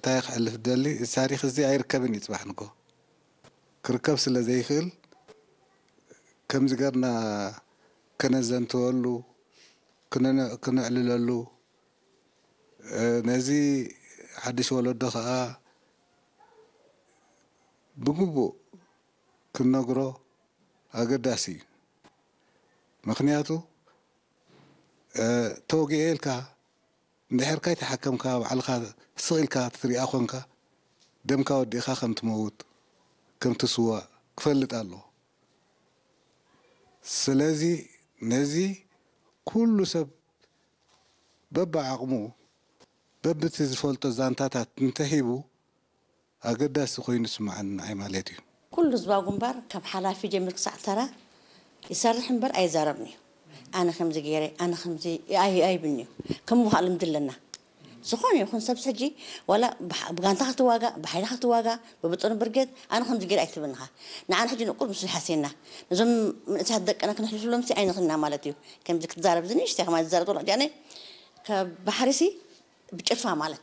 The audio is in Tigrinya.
እንታይ ክሕልፍ ደሊ፣ እዚ ታሪኽ እዚ ኣይርከብን እዩ። ጽባሕ ንጎ ክርከብ ስለ ዘይክእል፣ ከምዚ ገርና ከነዘንትወሉ፣ ክነነ-፣ ክነዕልለሉ፣ እ፣ ነዚ ሓድሽ ወለዶ ኸኣ ብግቡእ ክንነግሮ ኣገዳሲ እዩ። ምኽንያቱ፣ እ፣ ተወጊኤ ኢልካ፣ እንድሕር ካይተሓከምካ፣ ባዕልኻ ስቕ ኢልካ ትሪኣ ኾንካ፣ ደምካ ወዲእኻ ከም ትመውት፣ ከም ትስዋእ ክፈልጥ ኣለዎ። ስለዚ ነዚ ኩሉ ሰብ በብዓቕሙ፣ በብቲ ዝፈልጦ ዛንታታት እንተሂቡ፣ ኣገዳሲ ኮይኑ ዝስምዓኒ ንዓይ ማለት እዩ። ኩሉ ህዝባዊ ግንባር ካብ ሓላፊ ጀሚር ክሳዕ ተራ ይሰርሕ እምበር ኣይዛረብን እዩ። ኣነ ከምዚ ገይረ፣ ኣነ ከምዚ ኣይ-፣ ኣይብልን'ዩ። ከም ምዃእ ልምዲ ኣለና። ዝኾነ ይኹን ሰብስ ሕጂ ዋላ ብሓ-፣ ብጋንታ ክትዋጋእ፣ ብሓይሊ ክትዋጋእ፣ ብብጥኑ ብርጌድ፣ ኣነ ከምዚ ገይረ ኣይትብልንኻ። ንዓና ሕጂ ንቁር ምስ ይሓስየና። ነዞም መንእሰያት ደቅና ክነሕልፍሎምሲ ኣይንኽእልና ማለት እዩ። ከምዚ ክትዛረብ ዝንእሽተይ ከማን ዝዛረብ ዘሎ ሕጂ ኣነ ካብ ባሕሪሲ ብጭልፋ ማለት